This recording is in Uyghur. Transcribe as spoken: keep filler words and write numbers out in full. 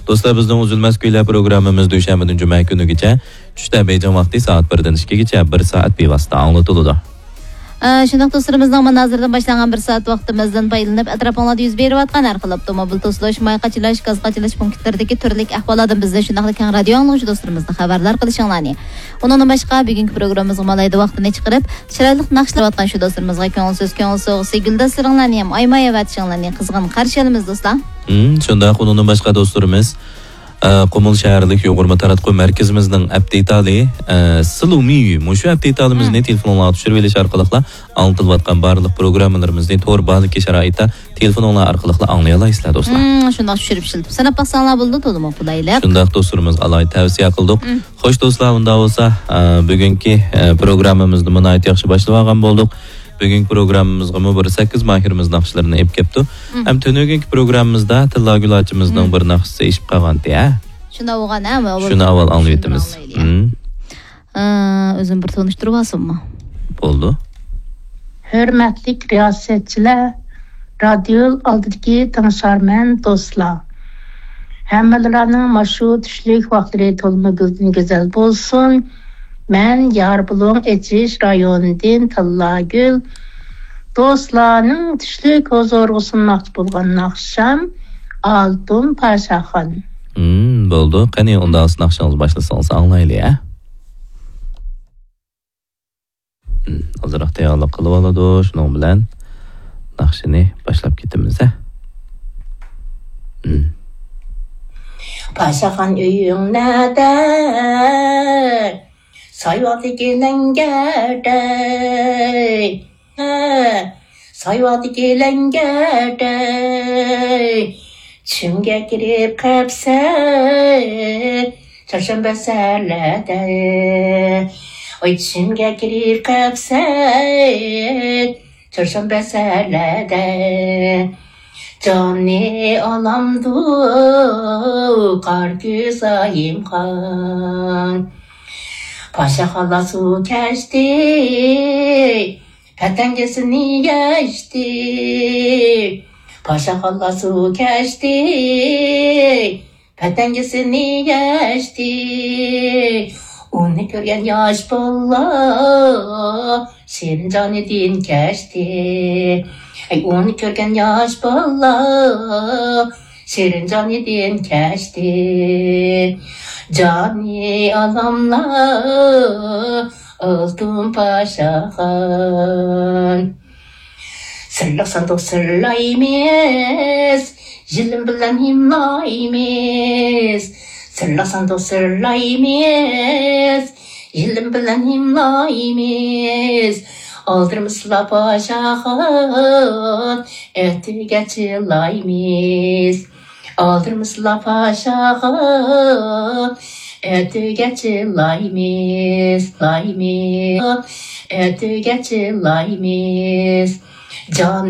دوستلار، بىزنىڭ ئۈزۈلمەس كۈيلەر پروگراممىمىز دۈشەنبىدىن جۈمە كۈنىگىچە، چۈشتە بېيجىڭ ۋاقتى سائەت بىردىن ئىككىگىچە بىر سائەت بىۋاسىتە ئاڭلىتىلىدۇ. ئە، شۇنداق دوستلىرىمىزنىڭ مانا ھازىردىن باشلانغان بىر سائەت ۋاقتىمىزدىن پايدىلىنىپ، ئەتراپىڭلاردا يۈز بېرىۋاتقان ھەر خىل ئاپتوموبىل توسۇلۇش، ماي قاچىلاش، گاز قاچىلاش پونكىتلىرىدىكى تۈرلۈك ئەھۋاللاردىن بىزنى، شۇنداقلا كەڭ رادىيو ئاڭلىغۇچى دوستلىرىمىزنى خەۋەردار قىلىشىڭلارنى، ئۇنىڭدىن باشقا، بۈگۈنكى پروگراممىمىزغا مالايدا ۋاقتىنى چىقىرىپ، چىرايلىق ناخشىلار ئاتقان شۇ دوستلىرىمىزغا كۆڭۈل سۆز، كۆڭۈل سوۋغىسى، گۈلدەستىلىرىڭلارنى ھەم ئايىماي ئەۋەتىشىڭلارنى قىزغىن قارشى ئالىمىز، دوستلار. ھىم، شۇنداق، ئۇنىڭدىن باشقا دوستلىرىمىز، ئە، قۇمۇل شەھەرلىك يۇغۇرما تاراتقۇ مەركىزىمىزنىڭ ئەپ دېتالى، ئە، سىلۇمىيۈ، مۇشۇ ئەپ دېتالىمىزنى ھىم. تېلېفونغا تۈشۈرۈۋېلىش ئارقىلىقلا ئاڭلىتىلىۋاتقان بارلىق پروگراممىلىرىمىزنى تور بالىكى شارائىتتا تېلېفونۇڭلار ئارقىلىقلا ئاڭلىيالايسىلەر، دوستلار. ھىم، شۇنداق چۈشۈرۈپ ئىشلىتىپ سىناپ باقساڭلار بولىدۇ، تولىمۇ قولايلىق. شۇنداق، دوستلىرىمىزغا ئالاھىدە تەۋسىيە قىلدۇق. ھىم. خوش، دوستلار، ئۇندا بولسا، ئە، بۈگۈنكى، ئە، پروگراممىمىزنى ناھايىتى ياخشى باشلىۋالغان بولدۇق. بۈگۈنكى پروگراممىمىزغىمۇ بىر سەككىز ماھىرىمىز ناخشىلىرىنى ئېلىپ كەپتۇ. مم. ھەم تۈنۈگۈنكى پروگراممىمىزدا تىللاگۈل ئاچىمىزنىڭ مم. بىر ناخشىسى ئېشىپ قالغانتى، ھە؟ شۇنى ئاۋغان، ھە؟ شۇنى ئاۋۋال ئاڭلىۋېتىمىز. ئاڭلايلى. مم. ئە، ئۆزۈم بىر تونۇشتۇرۇپ ئالساممۇ؟ بولدى. ھۆرمەتلىك رىياسەتچىلەر، رادىيو ئالدىدىكى تىڭشارمەن دوستلار. ھەممىلىرىنىڭ ماشۇ چۈشلۈك ۋاقىتلىرى تولىمۇ گۈلدىن گۈزەل بولسۇن. مەن ياربۇلۇڭ ئېچىش رايونىدىن تىللاگۈل. دوستلارنىڭ چۈشلۈك ھۇزۇرىغا سۇنماقچى بولغان ناخشام ئالتۇن پاشاخان. ھىم، بولدى. قېنى، ئۇنداق ناخشىڭىزنى باشلىسىڭىز ئاڭلايلى، ھە؟ ھىم، ئازراق تەييارلىق قىلىۋالىدۇ. شۇنىڭ بىلەن ناخشىنى باشلاپ كېتىمىز، ھە؟ ھىم. پاشاخان، ئۆيۈڭ نەدە؟ سايۋاقتىكى لەڭگەردە. ھە، سايۋاقتىكى لەڭگەردە. چۈشۈمگە كىرىپ قاپسەن، چارشەنبە سەھەرلەردە. ۋاي، چۈشۈمگە كىرىپ قاپسەن، چارشەنبە سەھەرلەردە. جاننى ئالامدۇ قارا كۆز ئايىمخان. پاشاخانلار سۇ كەچتى، پەتەنگىسىنى يەشتى. پاشاخانلار سۇ كەچتى، پەتەنگىسىنى يەشتى. ئۇنى كۆرگەن ياش بالىلار شېرىن جانىدىن كەچتى. ئەي، ئۇنى كۆرگەن ياش بالىلار شېرىن جانىدىن كەچتى. جانى ئالاملار ئالتۇن پاشاخان. سىرلىق ساندۇق سىرلايمىز، يېلىم بىلەن ھىملايمىز. سىرلىق ساندۇق سىرلايمىز، يېلىم بىلەن ھىملايمىز. ئالدىرىمىسىلا پاشاخان، ئەتىگە چىلايمىز. ئالدىرىمىسىلا پاشاخان، ئەتىگە چىلايمىز، لايمىز. ئەتىگە چىلايمىز. جان